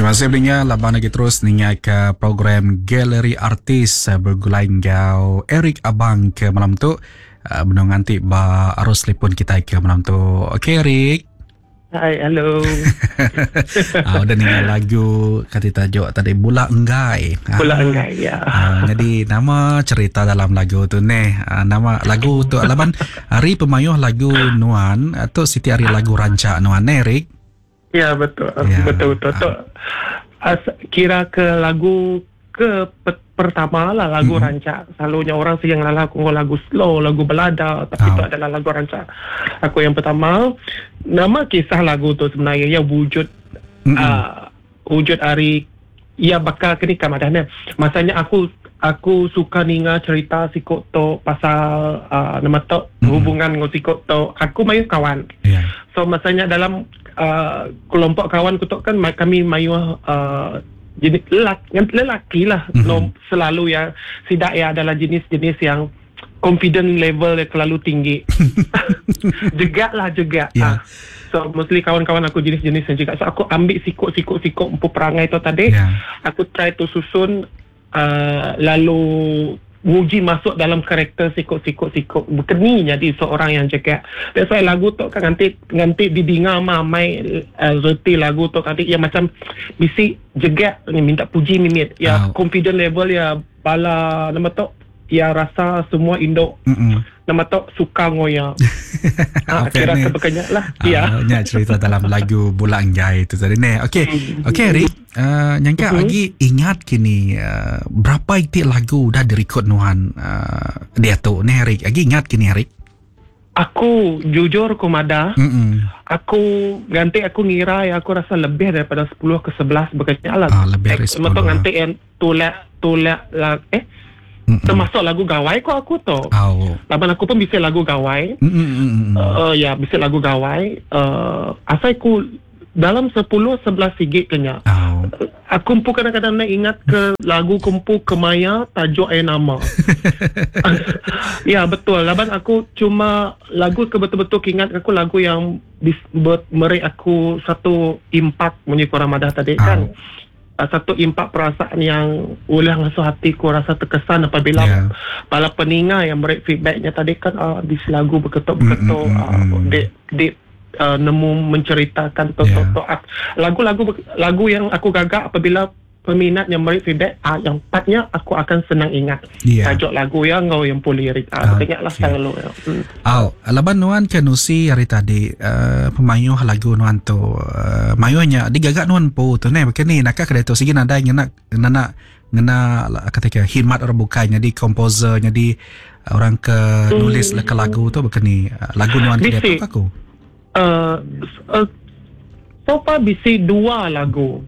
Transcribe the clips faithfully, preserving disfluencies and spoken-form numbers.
Terima kasih peninga laban lagi terus ninga ke program Galeri Artis begulai enggau Eric Abang ke malam tu. Benung nganti ba arus telefon kita ke malam tu. Okey Eric. Hai, hello. Ah, udah ninga lagu kata tajuk tadi Bula Enggai. Bula Enggai, ya. Ah, jadi nama cerita dalam lagu tu neh. Ah, nama lagu tu laban hari pemayuh lagu nuan atau siti hari lagu rancak nuan neh Eric. Ya, betul. Ya. Betul betul. Tu as, kira ke lagu ke pe, pertama lah lagu mm-hmm. rancak. Selalunya orang sih yang lala aku lagu slow, lagu balada, tapi oh. itu adalah lagu rancak. Aku yang pertama. Nama kisah lagu tu sebenarnya ya wujud mm-hmm. uh, wujud hari ya bakal kini kamadahnya. Masanya aku aku suka ninga cerita sikok tu pasal uh, nama tu mm-hmm. hubungan dengan sikok tu. Aku mayu kawan. Yeah. So masanya dalam Uh, kelompok kawan ku tu kan kami mayu uh, jenis lelaki, lelaki lah mm-hmm. no, selalu ya sidak ya adalah jenis-jenis yang confident level yang terlalu tinggi. Jegak lah jegak. Yeah. Ah. So mostly kawan-kawan aku jenis-jenis yang jegak. So aku ambil sikok-sikok-sikok empu perangai tu tadi. Yeah. Aku try to susun uh, lalu nguji masuk dalam karakter sikok-sikok-sikok berkeni jadi seorang yang cakap. That's why lagu tu kan nanti nanti didinga mamai uh, reti lagu tu nanti ya macam bisi jegak ni minta puji mimit ya oh. Confident level ya bala nama tu ya rasa semua induk Mm-mm. nama tu suka ngoya. Ha, kira sebagainya lah. Ah, ya. Nya cerita dalam lagu Bula Enggai itu tadi ni. Okey. Okey Eric, uh, nyangka mm-hmm. lagi ingat kini uh, berapa itik lagu dah direkod nuan uh, dia tu ni Eric. Lagi ingat kini Eric? Aku jujur ku madah. Mm-mm. Aku ganti aku ngira ya aku rasa lebih daripada sepuluh ke sebelas berkaitan lah. Ah, lebih dari sepuluh. Betul ganti yang tulak tulak lah eh Mm-mm. termasuk lagu gawai ko aku tu. Oh. Laban aku pun bisa lagu gawai. Mm-mm. Uh, ya, bisa lagu gawai. Uh, asal ku dalam sepuluh sebelas sigit kenya. Oh. Aku pun kadang-kadang nak ingat ke lagu kumpu kemaya tajuk air nama. Ya, betul. Laban aku cuma lagu ke betul-betul ingat aku lagu yang bis, ber, merik aku satu impak munyi korang madah tadi oh. kan. Satu impak perasaan yang ulah ngasuh hatiku rasa terkesan apabila yeah. para peninga yang beri feedbacknya tadi kan uh, di lagu berketuk-berketuk mm, mm, mm, uh, dek dek uh, nemu menceritakan to, yeah. to, to, uh, lagu-lagu lagu yang aku gagak apabila peminat yang beri feedback ah, yang partnya aku akan senang ingat yeah. tajuk lagu yang ngau yang pun lirik ah, okay. Ingatlah selalu ya. Hmm. Oh, laban nuan ke nusi hari tadi uh, pemayuh lagu nuan tu uh, mayuhnya digagak nuan po tu ne begini nakak kedai tu sigi nadai ngena ngena ngena kata ke khidmat orang bukan jadi komposer jadi orang ke nulis hmm. leka lagu tu begini lagu nuan kedai tu aku uh, uh, so far bisi dua lagu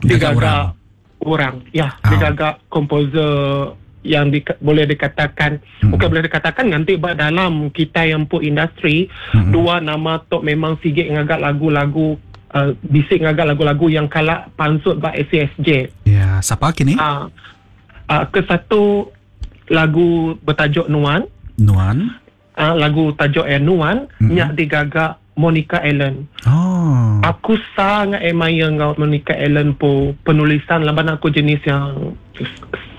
digagak orang orang ya oh. digagak komposer yang di, boleh dikatakan hmm. bukan boleh dikatakan nanti dalam kita yang pun industri hmm. dua nama tok memang sigit ngagak lagu-lagu uh, bisik ngagak lagu-lagu yang kalak pansut ba S C S J. Ya, siapa kini? Uh, uh, ke satu lagu bertajuk Nuan. Nuan. Uh, lagu tajuk eh Nuan hmm. nyak digagak Monica Allen. Oh. Aku sangat admire dengan Monica Allen po penulisan laban aku jenis yang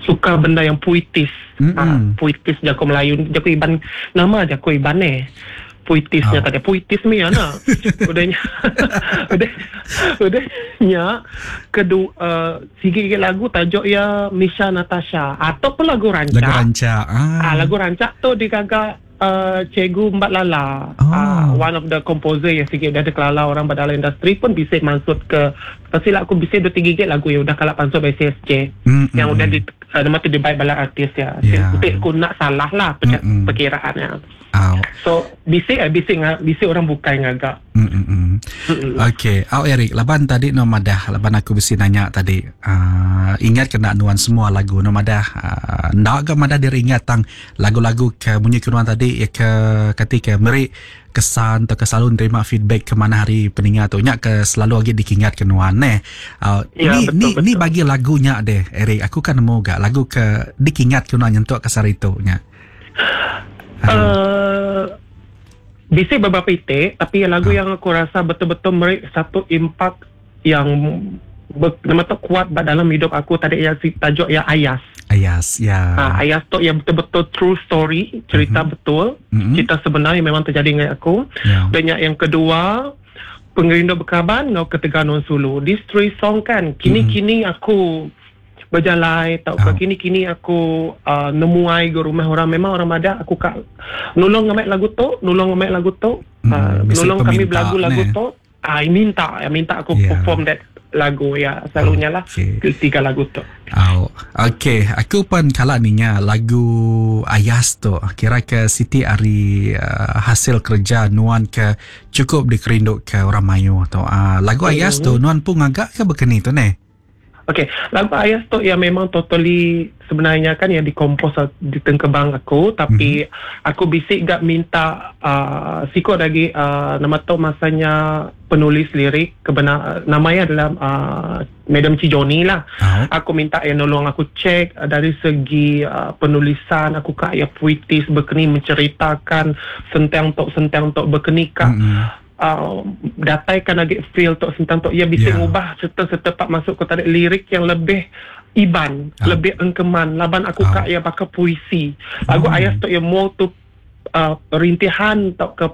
suka benda yang puitis. Mm-hmm. Ha, puitis jago Melayu, jago Iban, nama jago Iban eh. Puitisnya oh. tadi puitis mi ana. Udahnya. Udah udahnya kedua uh, sikit-sikit lagu tajuk ya Misha Natasha atau pun lagu rancak. Lagu rancak. Ah. Ah, lagu rancak tu digagak Uh, Cikgu Mbak Lala oh. uh, one of the composer yang sikit dah terkelala orang pada dalam industri pun bisa masuk ke pastilah aku bisa dua tiga gig lagu yang udah kalak pansut by C S J mm, yang mm, udah di uh, nama tu dibaik bala artis ya yeah. Untuk aku nak salah lah mm, mm. perkiraannya oh. So bisik eh bisik bisik orang bukan ngagak. Mm, mm, mm. Okey, au Eric, laban tadi no madah, laban aku bisi nanya tadi. Uh, ingat kena nuan semua lagu no madah. Uh, ndak ke madah diri ingat tang lagu-lagu ke bunyi ke nuan tadi ya ke ketika meri kesan atau ke selalu nerima feedback ke mana hari peningat tu nyak ke selalu lagi dikingat ke nuan neh. Uh, ya, ni betul, ni betul. Ni bagi lagunya deh Eric, aku kan nemu gak lagu ke dikingat ke nuan nyentuk ke sari tu nya. Uh, bisik beberapa itik tapi lagu ha. yang aku rasa betul-betul merik satu impak yang nama tu kuat dalam hidup aku tadi ya si tajuk ya Ayas. Ayas ya. Ha, Ayas tu yang betul-betul true story, cerita mm-hmm. betul, mm-hmm. cerita sebenar yang memang terjadi dengan aku. Yeah. Dan yang kedua, Pengerindu Berkaban ngau Ketegal Nuan Sulu. These three song kan, kini-kini mm-hmm. aku berjalai tau oh. kini-kini aku uh, nemuai ke rumah orang, memang orang ada aku kak nolong ngamek lagu tu, nolong ngamek lagu tu, mm, uh, nolong kami belagu lagu tu. Ah uh, minta, ya minta aku yeah. perform that lagu ya selalunya lah okay. Tiga lagu tu. Oh, okey, aku pun kala ni nya lagu Ayas tu kira ke Siti ari uh, hasil kerja nuan ke cukup dikerindu ke orang mayu tu. Uh, lagu Ayas tu nuan pun agak ke berkeni tu ne? Okey, lagu Ayas tu yang memang totally sebenarnya kan yang dikompos di tengkebang aku, tapi mm-hmm. aku bisik gak minta uh, sikot lagi uh, nama tu masanya penulis lirik kebenar namanya adalah uh, Madam Cijoni lah. Uh-huh. Aku minta yang nolong aku cek uh, dari segi uh, penulisan aku kak ya puitis berkeni menceritakan sentang tok sentang tok berkeni kak. Mm-hmm. Uh, dataikan lagi feel tok sentang tok ia bisa yeah. ngubah serta-serta pak masuk ke tarik lirik yang lebih iban, ah. lebih engkeman laban aku ah. kak ia bakal puisi. Lagu hmm. Ayas tok ia more tu uh, rintihan tok ke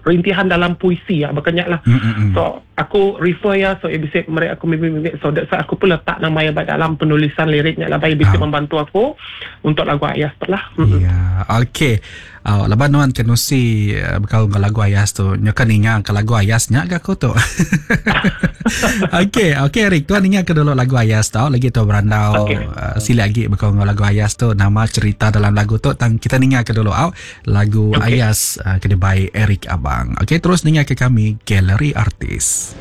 rintihan dalam puisi ya bakanya lah. Mm-hmm. So aku refer ya so ia bisa mereka aku mimpi-mimpi so that's why aku pun letak nama ia dalam penulisan liriknya lah ia bisa ah. membantu aku untuk lagu Ayas tu lah. Ya, yeah. Okey. Oh, laban nuan kenusi uh, bekal dengan lagu Ayas tu. Nyokan ingat ke lagu Ayas nyak ke aku tu. Okey, okey Eric, tuan ingat ke dulu lagu Ayas tau. Lagi tu berandau okay. uh, sila lagi bekal dengan lagu Ayas tu, nama cerita dalam lagu tu tang kita ingat ke dulu au lagu okay. Ayas uh, kena by Eric Abang. Okey, terus ingat ke kami Galeri Artis.